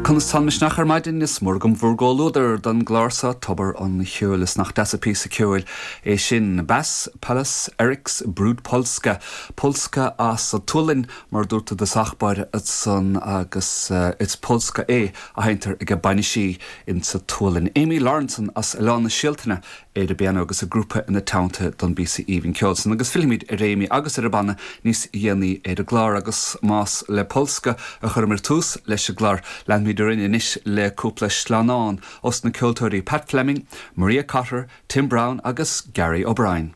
Conas tá an misneach ar maidin? Is mór agam bhur gcomhluadar don gclár seo, Tobar an Cheoil. Is nach deas an píosa ceoil é sin. Bass Pallas Eriks Brud Polska. Polska as an tSualainn, mar a dúrt i dtosach báire ansan, agus is polska é a sheinntear ag bainisí insa tSualainn. Amy Lawrenson as Oileán na Sealtainne ar an bpianó agus a grúpa ina teannta don bpíosa aoibhinn ceoil san. Agus fillfimid ar Amy agus ar a banna níos dhéanaí ar an gclár. Agus más le polska a chuireamar tús leis an gclár, leanfaimid orainn anois le cúpla sleamhnán os na ceoltóirí Pat Fleming, Maria Cotter, Tim Browne agus Gary O'Brien.